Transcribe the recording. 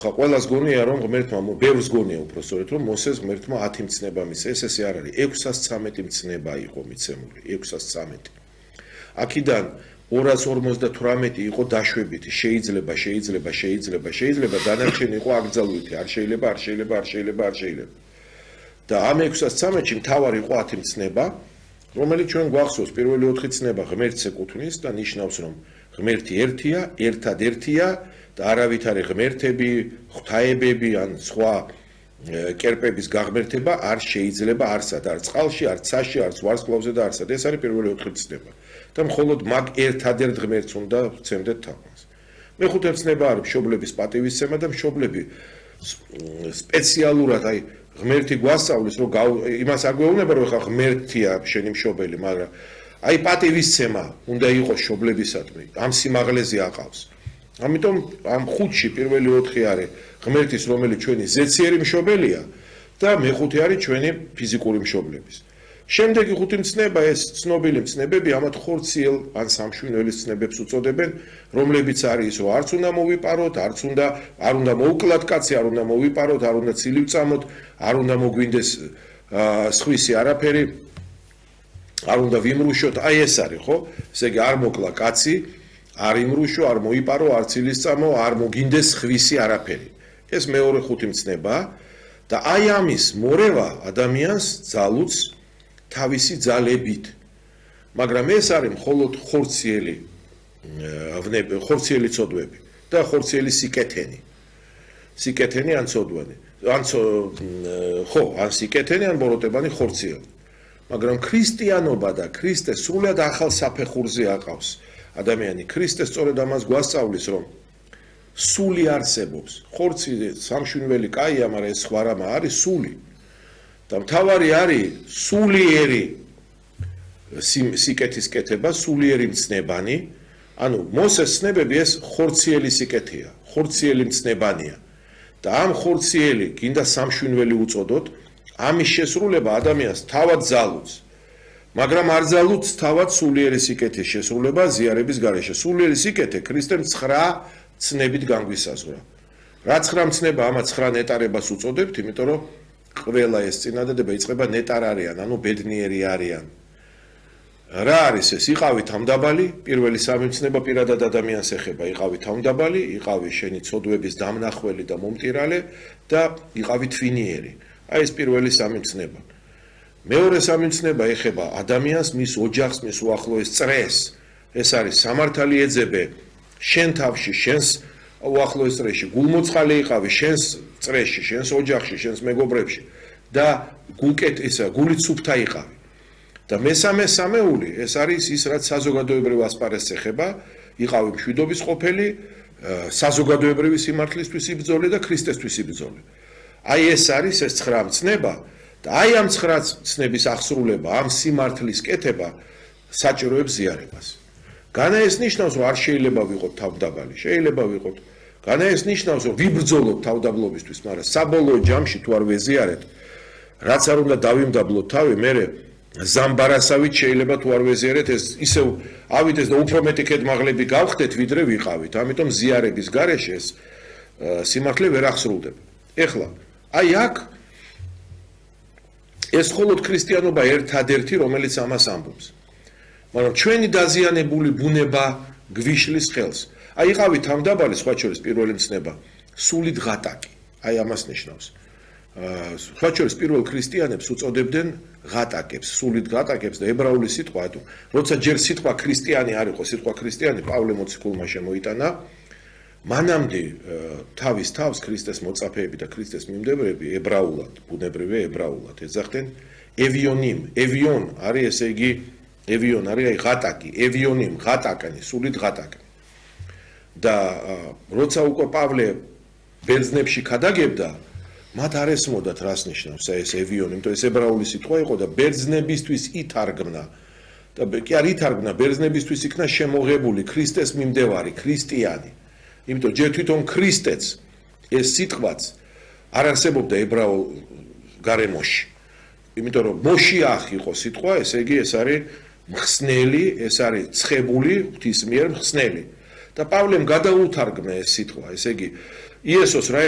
ყველას გონია რომ ღმერთმა ბევრს გონია უბრალოდ რომ მოსეს ღმერთმა 10 მცნება მისცა ეს არ არის 613 მცნება იყო მიცემული 613 აქედან 258 იყო დაშვებითი შეიძლება დანარჩენი იყო აკრძალვითი არ შეიძლება და ამ 613-ში მთავარი იყო 10 მცნება რომელიც ჩვენ გვახსოვს პირველი 4 ცნება ღმერთს ეკუთვნის და ნიშნავს რომ ღმერთი ერთია ერთადერთია და არავით არის ღმერთები, ღვთაებები ან სხვა კერპების გაღმერთება არ შეიძლება არსად, არ წყალში, არ ცაში, არ ვარსკვლავზე და არსად. ეს არის პირველი 4 ცნება. და მხოლოდ მაგ ერთადერთ ღმერთს უნდა ვცემდეთ თავს. მეხუთე ცნება არის მშობლების პატივისცემა და მშობლები სპეციალურად აი ღმერთი გვასწავლის რომ იმას არ გვეუბნება რომ ხა ღმერთია შენი მშობელი, მაგრამ აი პატივისცემა უნდა იყოს მშობლებისადმი, ამ სიმაღლეზე აყავს. ამიტომ ამ 5-ში პირველი 4 არის ღმერთის რომელიც ჩვენი ზეციერი მშობელია და მეხუთე არის ჩვენი ფიზიკური მშობლების. შემდეგი 5 მცნება ეს ცნობილი მცნებები ამათ ხორციელ ან სამშვინველის მცნებებს უწოდებენ, რომლებიც არის რომ არც უნდა მოვიპაროთ, არ უნდა მოუკლათ კაცი, არ უნდა მოვიპაროთ, არ უნდა ცილი ვწამოთ, არ უნდა მოგვინდეს სხვისი არაფერი, არ უნდა ვიმრუშოთ, აი ეს არის, ხო? ესე იგი არ მოკლა კაცი არ იმრუშო, არ მოიპარო, არ ცილის წამო, არ მოგინდეს ხვისი არაფერი. ეს მეორე 5 მცნება და აი ამის მორევა ადამიანს ძალუც თავისი ძალებით. მაგრამ ეს არის მხოლოდ ხორციელი ცოდვები და ხორციელი სიკეთენი. სიკეთენი ან ცოდვანი. ან სიკეთენი ან ბოროტებანი ხორციელი. მაგრამ ქრისტიანობა და ქრისტე სრულად ახალ საფეხურზე აყავს. ადამიანი ქრისტე სწორედ ამას გვასწავლის რომ სული არსებობს ხორცი სამშვინველი კაია მაგრამ ეს სხვა რამა არის სული და მთავარი არის სულიერი სიკეთის კეთება სულიერი მცნებანი ანუ მოსეს ცნებები ეს ხორციელი სიკეთეა ხორციელი მცნებანია და ამ ხორციელი გინდა სამშვინველი უწოდოთ ამის შესრულება ადამიანს თავად ძალუց მაგრამ არ ძალუც თავად სულიერი სიკეთის შესრულება ზიარების გარეშე. სულიერი სიკეთე ქრისტემ 9 ცნებით განგვისაზღვრა. რა 9 მცნება ამათ 9 ნეტარებას უწოდებთ, იმიტომ რომ ყველა ეს წინადადება იწყება ნეტარარიან, ანუ ბედნიერი არიან. რა არის ეს? იყავი თავდაბალი, პირველი 3 მცნება პირადად ადამიანს ეხება, იყავი თავდაბალი, იყავი შენი ცოდვების დამნახველი და მომტირალე და იყავი თვინიერი. აი ეს პირველი 3 მცნება. მეორე 3 მცნება ეხება ადამიანს, მის ოჯახს, მის უახლოეს წრეს. ეს არის სამართალი ეძებე შენ თავში, შენს უახლოეს წრეში, გულმოწყალე იყავი შენს წრეში, შენს ოჯახში, შენს მეგობრებში და გულით სუფთა იყავი. და მესამე სამეული ეს არის ის რაც საზოგადოებრივ ასპარეზს ეხება, იყავი მშვიდობის ყოფილი, საზოგადოებრივი სიმართლისთვის იბრძოლე და ქრისტესთვის იბრძოლე. აი ეს არის ეს 9 მცნება და აი ამ 9 ცნების აღსრულება, ამ სიმართლის კეთება საჭიროებს ზიარებას. განა ეს ნიშნავს, რომ არ შეიძლება ვიყოთ თავდაბალი, შეიძლება ვიყოთ. განა ეს ნიშნავს, რომ ვიბრძოლოთ თავდაბლობისთვის, მაგრამ საბოლოო ჯამში თუ არ ვეზიარეთ, რაც არ უნდა დავიმდაბლოთ თავი, მე ზამბარასავით შეიძლება თუ არ ვეზიარეთ, ეს ისევ ავიდეს და უფრო მეტი ქედმაღლები გავხდეთ, ვიდრე ვიყავით. ამიტომ ზიარების გარეშე ეს სიმართლე ვერ აღსრულდება. ეხლა, აი აქ ეს მხოლოდ ქრისტიანობა ერთადერთი, რომელიც ამას ამბობს. მაგრამ ჩვენი დაზიანებული ბუნება გვიშლის ხელს. აი იყავი თავდაბალი, სხვა შორის პირველი მცნება, სულით ღატაკი. აი ამას ნიშნავს. სხვა შორის პირველ ქრისტიანებს უწოდებდნენ ღატაკებს, სულით ღატაკებს და ებრაული სიტყვა, როცა ჯერ სიტყვა ქრისტიანი არ იყო, სიტყვა ქრისტიანი პავლე მოციქულმა შემოიტანა, მანამდე თავის თავს ქრისტეს მოწაფეები და ქრისტეს მიმდევრები ებრაულად, ბუნებრივია ებრაულად ეძახდნენ ევიონიმ. ევიონ არის ესე იგი ევიონ არის აი ღატაკი, ევიონიმ, ღატაკანი, სულით ღატაკანი. და როცა უკვე პავლე ბერძნებში ქადაგებდა, მათ არ ესმოდათ რას ნიშნავს ეს ევიონი, იმიტომ ეს ებრაული სიტყვა იყო და ბერძნებისთვის ითარგმნა. და კი არ ითარგმნა, ბერძნებისთვის იქნა შემოღებული ქრისტეს მიმდევარი, ქრისტიანი. იმიტომ ჯერ თვითონ ქრისტეც ეს სიტყვაც არ არსებობდა ებრაულ გარემოში. იმიტომ რომ მოშიახ იყო სიტყვა, ესე იგი ეს არის მხსნელი, ეს არის ცხებული, ღვთის მიერ მხსნელი. და პავლემ გადაუთარგმნა ეს სიტყვა, ესე იგი იესოს რა